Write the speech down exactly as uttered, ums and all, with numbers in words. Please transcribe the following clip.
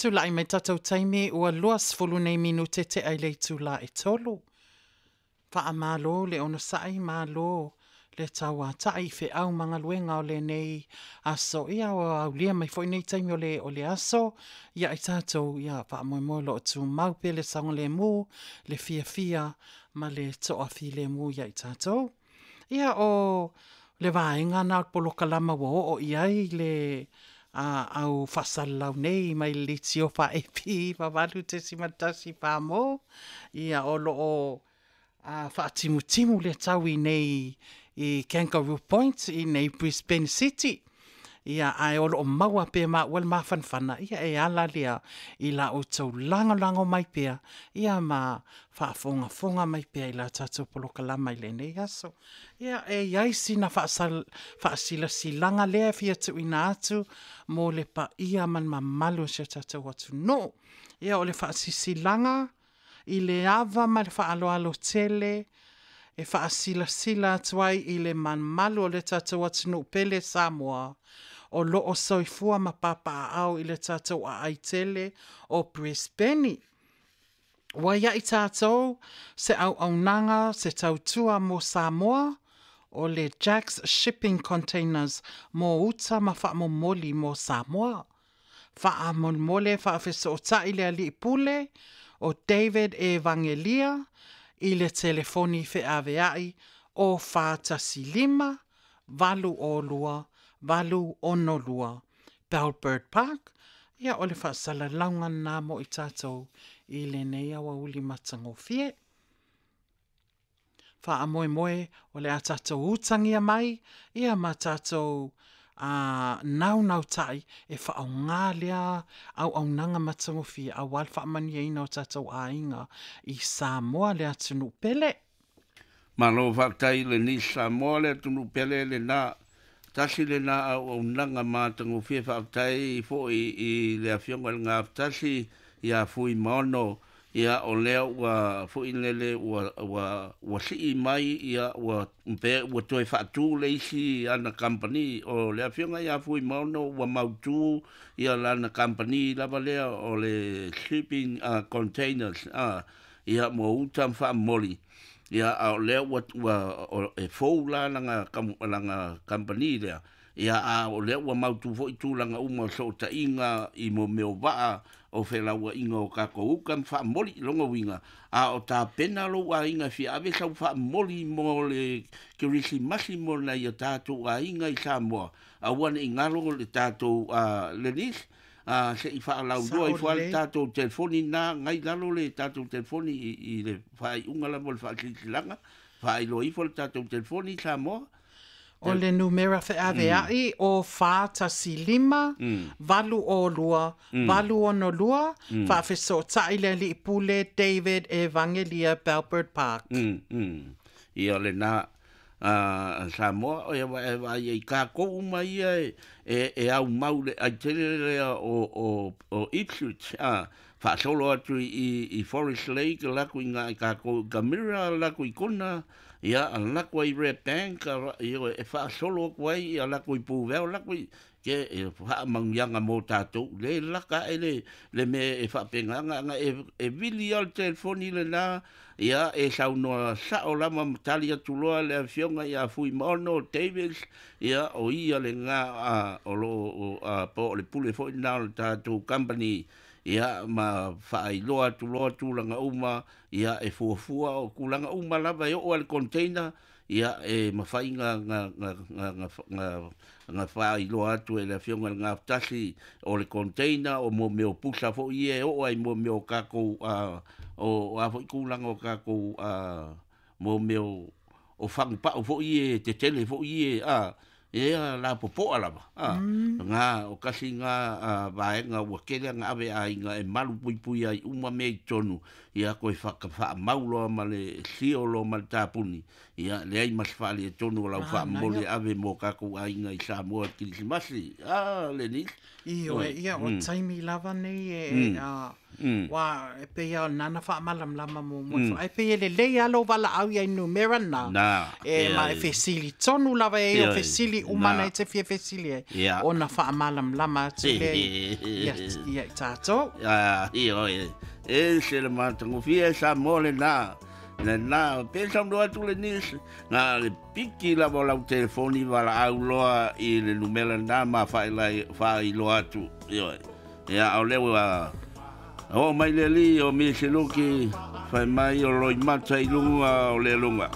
Tula'i mai tatou taimi ua luasefulu nei minute te'a i le itulā e tolu. Faamālō le onosa'i, mālō le tauata'i i fe'au ma galuega o lenei aso. Ia ua aulia mai fo'i nei taimi o le, o le aso ia i tatou. Ia faamoemoe o lo'o tumau pea le saogalēmū, le fiafia ma le to'afilemu ia i tatou. Ia o le vaega na o le polokalama ua oo i ai le a au faasalalau nei mai le litio faa-E P valu tesima tasi pa mo. Ia o loo a faatimutimu le tau i nei i Kangaroo Point i nei Brisbane City. Ia ae o loo maua pea maua le mafanafana ia e ala lea i la outou lagolago mai pea ia ma faafogafoga mai pea i la tatou polokalama i lenei aso. Ia e iai sina faasal faasilasilaga lea e fia tuuina atu mo le paia ma le mamalu o si o tatou atunuu. Ia o le faasisilaga i le ava ma le faaaloalo tele e faasilasila atu ai i le mamalu o le tatou atunuu pele Samoa o loo soifua ma papaaao i le tatou aai tele o Brisbane. Ua iai tatou se auaunaga se tautua mo Samoa o le Jacks Shipping Containers mo uta ma faamomoli mo Samoa. Faamolemole faafesootai le alii pule o David Evangelia i le telefoni feaveai o fa tasi lima, valu o lua, valu ono lua, Bellbird Park. Ia o le faasalalauga lena mo i tatou i lenei aoauli matagofie. Faamoemoe o le a tatou utagia mai ia ma tatou a naunautai e faaaogā lea auaunaga matagofie auā le faamanuiaina o tatou aiga i Samoa le atunuu pele. Malo faafetai le Samoa le atunuu pele lena. Tasi lena auaunaga matagofie. Faafetai fo'i i le Afioga i le Gafatasi ia Fuimaono. Ia o lea ua fo'i lele ua ua ua sii mai ia ua pe ua toe faatū le isi ana kamupani. O le Afioga ia Fuimaono ua mautū ia lana kamupani lava lea o le shipping uh, containers uh, ia mo uta ma faamomoli. Ia a o lea ua ua o, e fou la langa kam, langa kamupani lea. Ia a o lea ua mautū fo'i tulaga uma o sootaiga i mo mea o vaa o felauaiga o kakou uka ma faamoli loga uiga a o tapena lou aiga e fia ave sau faamoli mo le Kerisimasi mo nai o tatou aiga i Samoa aua nei galo le tatou uh, Lenis a se i faalauiloa ifo a le tatou telefoni na gai lalo le tatou telefoni i, i le faaiuga lava o le faasilasilaga faailoa ifo le tatou telefoni Samoa. O le numera feavea'i o fa tasi lima, valu o lua, valu ono lua, faafesootai le alii pule David Evangelia, Bellbird Park. mm, mm. Ia lena a Samoa o ia e vaai ai kākou uma ia e, e, e au mau le ai tele lea o, o, o Ipswich a faasolo atu i, i Forest Lake lako i ngā i kākou i Camira lako i Kona ia a lako ai Red Bank a, ia, e faasolo atu ai ia lako i Puveo lako i ke e faamanuiaga mo tatou le laka e le le mea e faapegaga aga e, e vili a le telefoni lena ia e saunoa sa'o lava ma tali atu loa le Afioga ia Fuimaono Davis. Ia o ia lena a o loo a po o le pule fo'i lena o le tatou company ia ma faailoa atu loa tulaga uma ia e fuafua o tulaga uma lava e oo a le container ia e mafai ga ga ga ga ga ga ga faailoa atu e le Afioga i le Gafatasi o le container o mo mea o pusa fo'i ia e oo ai mo mea o kakou a o a fo'i tulaga o kakou a mo mea o o fagupa'u fo'i e tetele fo'i e a e la popo'a lava a ga o kasi ga a vaega ua kele aga ave aiga e malu puipui ai uma mea i totonu ia koe faamau loa ma le sio loa ma le tapuni ia leai ma se faalietonu o lau faamomoli e ave mo kakou aiga i Samoa i Kerisimasi a Lenis. Ioe, ia o taimi lava nei e a ua e pei a nana faamalamalama muamua ifo ai pei e lelei a lou valaau iai numera na na e ma e fesili tonu lava e o fesili. fesili uma na e te fia fesili ai Ia. ona faamalamalama atu lea ia ia i tatou. Ah, ioe. E se le matagofie e Samoa lenā. Lenā, pe saunoa atu le nisi, na le piki lava o lau telefoni valaau loa i le numera lenā ma faailoa faailoa atu. Ioe. Ia, o lea ua oo mai le alii o Misiluki, fai mai o loimata i luga o le luga.